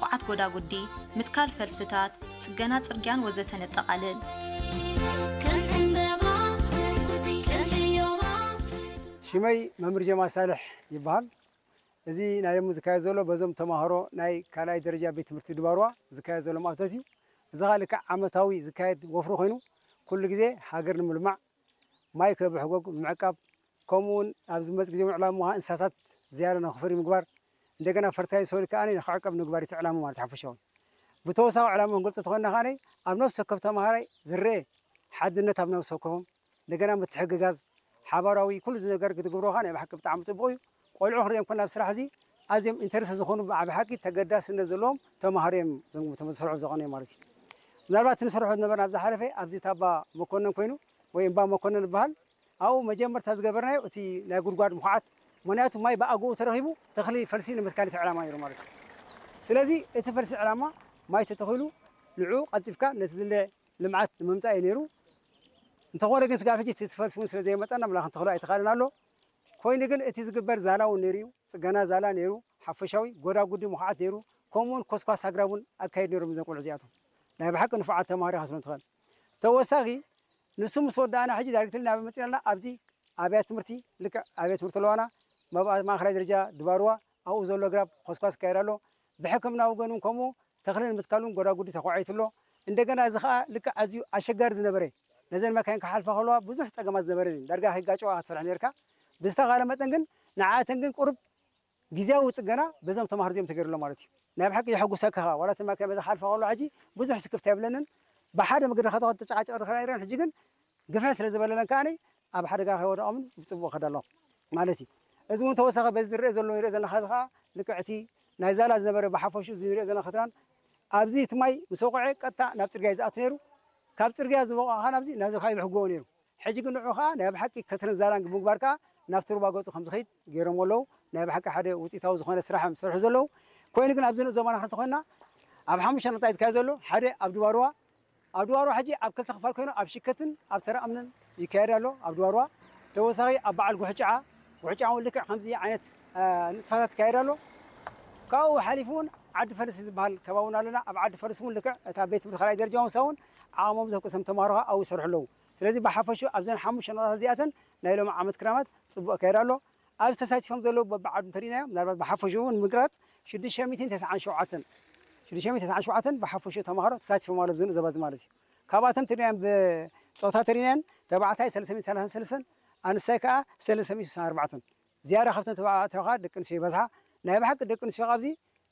ኹዓት ጎዳጉዲ፣ ምትካል ፈልስታት፣ ጽገና ጽርግያን ወዘተ ነጠቓልል። ሽመይ መምህር ጀማል ሳልሕ ይበሃል። እዚ ናይ ሎሚ ዝካየድ ዘሎ በዞም ተማሃሮ ናይ ካልኣይ ደረጃ ቤት ትምህርቲ ድባርዋ ዝካየድ ዘሎ ማእቶት እዩ። እዚ ኸኣ ልክዕ ዓመታዊ ዝካየድ ወፍሪ ኮይኑ ኩሉ ግዜ ሃገር ንምልማዕ ማይ ከብሕጎግ ምዕቃብ፣ ከምኡ እውን ኣብዚ ዝመጽእ ግዜ እውን ዕላማ ምሃ እንስሳታት ዝያዳ ንኽፈሪ ምግባር፣ እንደገና ፈርታይዝ ሶይል ከኣ ንኽዕቀብ ምግባር እቲ ዕላማ ማለት ሓፈሻዊ። ብተወሳኺ ዕላማ ክንገልጾ ተኾይና ከኣ ኣብ ነፍሲ ወከፍ ተማሃራይ ዝረአ ሓድነት ኣብ ነፍሲ ወከፎም፣ እንደገና ምትሕግጋዝ፣ ሓባራዊ ኩሉ እዚ ነገር ክትገብሮ ከኣ ናይ ብሓቂ ብጣዕሚ ጽቡቕ እዩ። ቆልዑ ክንሪኦም ከለና ኣብ ስራሕ እዚ ኣዝዮም ኢንተረስት ዝኾኑ ብዓቢ ሓቂ ተገዳስነት ዘለዎም ተማሃሮ እዮም እዞም እቶም ዝሰርሑ ዝኾኑ ማለት እዩ። ምናልባት እቲ ንሰርሖ ዝነበርና ኣብ ዝሓለፈ ኣብዚ ታባ መኮነን ኮይኑ ወይ እምባ መኮነን ይበሃል ኣብኡ መጀመርታ ዝገበርናዮ እቲ ናይ ጉድጓድ ምኹዓት ምኽንያቱ ማይ ብኣግኡ ተረኺቡ ተኽሊ ፈልሲ ንምትካል እቲ ዕላማ ነይሩ ማለት እዩ። ስለዚ እቲ ፈልሲ ዕላማ ማይ ተተኺሉ ንዕኡ ቀልጢፍካ ነቲ ዝለ ልምዓት ንምምፃእ እዩ ነይሩ። እንተኾነ ግን ስጋብ ሕጂ እቲ ፈልሲ እውን ስለ ዘይመፀና ምላ ክንተኽሎ ኣይተኻልን ኣሎ። ኮይኑ ግን እቲ ዝግበር ዛላ እውን ነይሩ እዩ። ፅገና ዛላ ነይሩ፣ ሓፈሻዊ ጎዳጉዲ ምኹዓት ነይሩ፣ ከምኡ እውን ኮስኳስ ኣግራብ እውን ኣካይድ ነይሮም እዞም ቆልዑ እዚኣቶም። ናይ ብሓቂ ንፉዓት ተምሃሮ ኢኻ ክትብሎም ትኽእል። ተወሳኺ ንሱ ምስ ወዳእና ሕጂ ዳይሬክትሊ ናበይ መፂና ኣለና? ኣብዚ ኣብያተ ትምህርቲ ልክዕ ኣብያተ ትምህርቲ ኣለዋና፣ መብ- ማእኸላይ ደረጃ ድባርዋ ኣብኡ ዘሎ ኣግራብ ኮስኳስ ይካየድ ኣሎ። ብሕክምና ወገን እውን ከምኡ ተኽሊ ንምትካል እውን ጎዳጉዲ ተኳዒቱ ኣሎ። እንደገና እዚ ከዓ ልክዕ ኣዝዩ ኣሸጋሪ ዝነበረ ነዘን መካይን ክሓልፋ ከለዋ ብዙሕ ፀገማት ዝነበረ እዩ። ዳርጋ ከይጋጨዋ ክትፈርሕ ነርካ። ብዝተኻለ መጠን ግን ንዓኣተን ግን ቁሩብ ግዜያዊ ፅገና በዞም ተማሃሮ እዚኦም ተገይሩ ኣሎ ማለት እዩ። ናይ ብሓቂ የሐጉሰካ ከዓ ዋላ እቲ መካይን በዛ ክሓልፋ ከለዋ ሕጂ ብዙሕ ስክፍታ የብለንን። ብሓደ መገዲ ከተኸ ተጨቃጨቕ ድኻ ነይረን ሕጂ ግን ግፍሕ ስለ ዝበለለን ከዓ ኣብ ሓደጋ ከይወደቐምን ብፅቡቕ ከዳ ኣሎ ማለት እዩ። እዚ እውን ተወሳኺ በዚ ዝረአ ዘሎ ንሪኦ ዘለና ኸዚ ከዓ ልክዕ እቲ ናይ ዛላ ዝነበረ ብሓፈሹ እዚ ንሪኦ ዘለና ኸትራን ኣብዚ እቲ ማይ ምስ ወቕዐ ቀጥታ ናብ ፅርግያ እዩ ዝኣቱ ነይሩ። ካብ ፅርግያ ዝበቕዖ ከዓ ናብዚ ናዚ ከዓ ይብሕግዎ ነይሩ። ሕጂ ግን ንዑ ከዓ ናይ ብሓቂ ከትርን ዛላን ብምግባር ከዓ ናብቲ ሩባ ገፁ ከም ዝኸይድ ገይሮም ኣለዉ። ናይ ብሓቂ ሓደ ውፅኢታዊ ዝኾነ ስራሕ እዮም ዝሰርሑ ዘለዉ። ኮይኑ ግን ኣብዚ ንኡስ ዘባና ክንርኢ ተኾይንና ኣብ ሓሙሽተ ነጥቢ ዝካየድ ዘሎ ሓደ ኣብ ድባርዋ ኣብ ድባርዋ ሕጂ ኣብ ክልተ ክፋል ኮይኑ ኣብ ሽከትን ኣብ ተራ እምንን ይካየድ ኣሎ። ኣብ ድባርዋ ተወሳኺ ኣብ በዓል ጉሕጫዓ ጉሕጫዓ እውን ልክዕ ከምዚ ዓይነት ንጥፋታት ይካየድ ኣሎ። ካብኡ ሓሊፉ እውን ዓዲ ፈርስ ዝበሃል ከባቢ እውን ኣለና። ኣብ ዓዲ ፈርስ እውን ልክዕ እታ ቤት ትምህርቲ ካልኣይ ደረጃ እውን ሰውን ዓቕሞም ዘብቅሶም ተምሃሮ ከዓ ኣብኡ ይሰርሑ ኣለዉ። ስለዚ ብሓፈሹ ኣብዘን ሓሙሽተ ነጥብታት እዚኣተን ናይ ሎሚ ዓመት ክራማት ፅቡቕ ይካየድ ኣሎ። ኣብዚ ተሳቲፎም ዘለዉ በብዓዱ እንተሪእናዮም ምናልባት ብሓፈሽኡ ንምግላፅ ሽዱሽተ ሚእትን ተስዓን ሸውዓተን ሽዱሽተ ሚእትን ተስዓን ሸውዓተን ብሓፈሽኡ ተምሃሮ ተሳቲፎም ኣለዉ ኣብዚ ንኡስ ዘባ እዚ ማለት እዩ። ካብኣቶም እንተሪእናዮም ብፆታ እንተሪእናየን ተባዕታይ ሰለስተ ሚእትን ሰላሳን ሰለስተን ኣንስታይ ከዓ ሰለስተ ሚእትን ስሳን ኣርባዕተን ዝያዳ ካብቶም ተባዕትዮ ከዓ ደቂ ኣንስትዮ ይበዝሓ። ናይ ብሓቂ ደቂ ኣንስትዮ ኣብዚ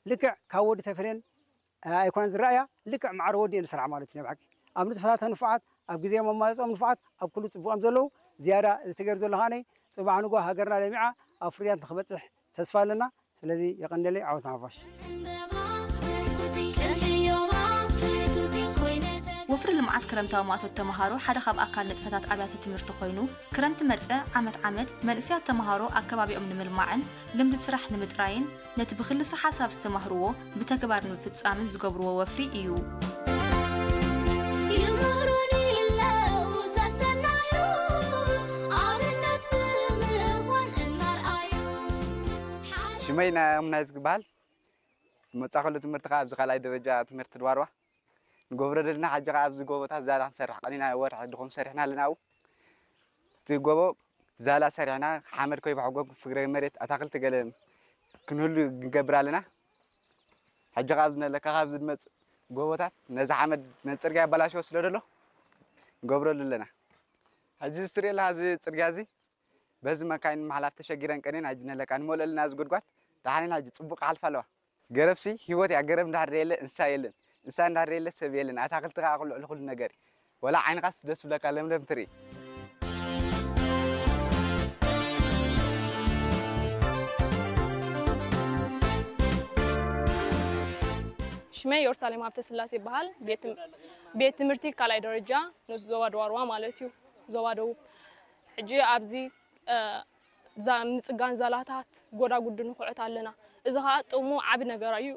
ልክዕ ካብ ወዲ ተፈልየን ኣይኮነን ዝረኣያ ልክዕ ማዕረ ወዲ እየን ዝሰርሓ ማለት እዩ ናይ ብሓቂ ኣብ ንጥፈታተን ንፉዓት ኣብ ግዜ መማረፅኦም ንፉዓት ኣብ ኩሉ ፅቡቕ እዮም ዘለዉ ዝያዳ እዚ ተገይሩ ዘሎ ከዓ ፅባሕ ንጎ ሃገርና ለሚዓ ኣብ ፍርያት ንክበፅሕ ተስፋ ኣለና ስለዚ የቐንደለይ ዓወት ንሓፋሽ ወፍሪ ልምዓት ክረምታዊ ማእቶት ተምሃሮ ሓደ ካብ ኣካል ንጥፈታት ኣብያተ ትምህርቲ ኮይኑ ክረምቲ መፀ ዓመት ዓመት መንእሰያት ተምሃሮ ኣከባቢኦም ንምልማዕን ልምዲ ስራሕ ንምጥራይን ነቲ ብክልሰ ሓሳብ ዝተማህርዎ ብተግባር ንምፍፃምን ዝገብርዎ ወፍሪ እዩ። ይምህሩኒ ኣለዉ ሰሰናዩ ኣብነት ብምዃን እናርኣዩ ሓደ ሽመይ ናዮም ናይ ዝግበሃል መጻ ከሎ ትምህርቲ ከኣ ኣብዚ ካልኣይ ደረጃ ትምህርቲ ድባርዋ ንገብሮ ዘለና። ሕጂ ከኣ ኣብዚ ጎቦታት ዛላ ክንሰርሕ ቀኒና ወርሒ ድኹም ሰሪሕና ኣለና። ኣብኡ እቲ ጎቦ ዛላ ሰሪሕና ሓመድ ከይበሕጎ ፍግረ መሬት ኣታክልቲ ገለ ክንህሉ ንገብር ኣለና። ሕጂ ካብ ዝነለካ ካብ ዝመጽእ ጎቦታት ነዚ ሓመድ ነዚ ጽርግያ ኣበላሽዎ ስለ ደሎ ንገብረሉ ኣለና። ሕጂ እዚ ትሪኦ ኣለኻ እዚ ጽርግያ እዚ በዚ መካይን ምሕላፍ ተሸጊረን ቀንየን ሕጂ ነለካ ንመልኦ ኣለና እዚ ጉድጓድ ደሓን ኢና ሕጂ ጽቡቕ ክሓልፋ ኣለዋ። ገረብሲ ህይወት እያ። ገረብ እንድሕር የለ እንስሳ የለን። እንስሳ እንድሕር የለ ሰብ የለን። ኣታክልቲ ከኣ ኩሉ ልዕሊ ኩሉ ነገር እዩ። ወላ ዓይንኻስ ደስ ብለካ ለምለም ትርኢ። ሽመይ ዮርሳሌም ሃብተስላሴ ይበሃል። ቤት ትም- ቤት ትምህርቲ ካልኣይ ደረጃ ንኡስ ዞባ ድባርዋ ማለት እዩ፣ ዞባ ደቡብ። ሕጂ ኣብዚ እ፣ ዛ- ምጽጋን ዛላታት ጎዳጉዲ ንኹዕት ኣለና። እዚ ኸኣ ጥቕሙ ዓቢ ነገር እዩ።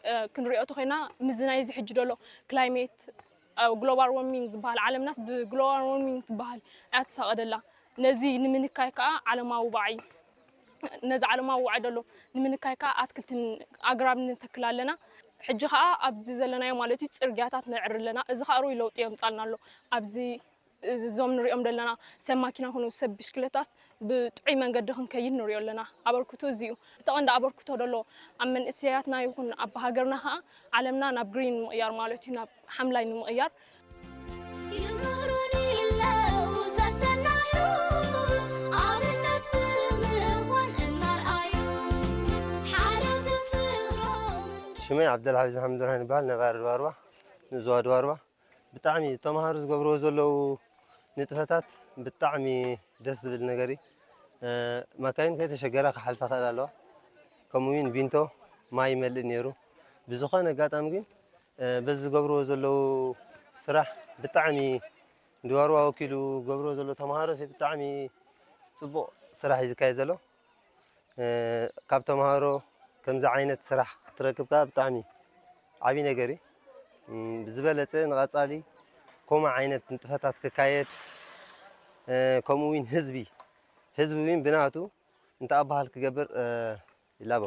እ፣ ክንሪኦ ተኾይና ምስዚ ናይዚ ሕጂ ዘሎ ክላይሜት እ፣ ግሎባል ዎርሚንግ ዝበሃል ዓለምናስ ብግሎባል ዎርሚንግ ትበሃል እያ ትሳቐ ደላ። ነዚ ንምንካይ ከኣ ዓለማዊ ዋዒ ነዚ ዓለማዊ ዋዒ ደሎ ንምንካይ ከኣ ኣትክልትን ኣግራብ ንተክል ኣለና። ሕጂ ኸኣ ኣብዚ ዘለናዮ ማለት እዩ ጽርግያታት ነዕሪ ኣለና። እዚ ኸኣ ርኡይ ለውጢ የምጻልና ኣሎ። ኣብዚ እዞም ንሪኦም ዘለና ሰብ ማኪና ኮኑ ሰብ ብሽክለታስ ብጥዑይ መንገዲ ክንከይድ ንሪኦ ኣለና። ኣበርክቶ እዚ እዩ። እቲ ቀንዲ ኣበርክቶ ደሎ ኣብ መንእሰያትና ይኹን ኣብ ሃገርና ኸኣ ዓለምና ናብ ግሪን ንምቕያር ማለት እዩ፣ ናብ ሓምላይ ንምቕያር። ይምህሩኒ ኣለዉ ሰሰናዩ ኣብነት ብምዃን እናርኣዩ ሓልዮትን ፍቕሮምን። ሽመይ ዓብደልሓፊዝ መሓመድ ብርሃን ይበሃል። ነባሪ ድባርባ፣ ንዞባ ድባርባ። ብጣዕሚ ተምሃሮ ዝገብርዎ ዘለዉ ንጥፈታት ብጣዕሚ ደስ ዝብል ነገር እዩ። እ፣ ማካይን ከይተሸገራ ክሓልፋ ክእል ኣለዋ። ከምኡ እውን ቢንቶ ማይ ይመልእ ነይሩ። ብዝኾነ ኣጋጣሚ ግን፣ እ፣ በዚ ዝገብርዎ ዘለዉ ስራሕ ብጣዕሚ ንድባርባ ወኪሉ ዝገብርዎ ዘሎ ተምሃሮሲ ብጣዕሚ ጽቡቕ ስራሕ እዩ ዝካየድ ዘሎ። እ፣ ካብ ተምሃሮ ከምዚ ዓይነት ስራሕ ክትረክብ ከኣ ብጣዕሚ ዓብዪ ነገር እዩ። እም፣ ብዝበለጸ ንቐጻሊ ከምኡ ዓይነት ንጥፈታት ክካየድ፣ እ፣ ከምኡ እውን ህዝቢ፣ ህዝቢ እውን ብናቱ እንተኣበሃል ክገብር፣ እ፣ ይላቦ።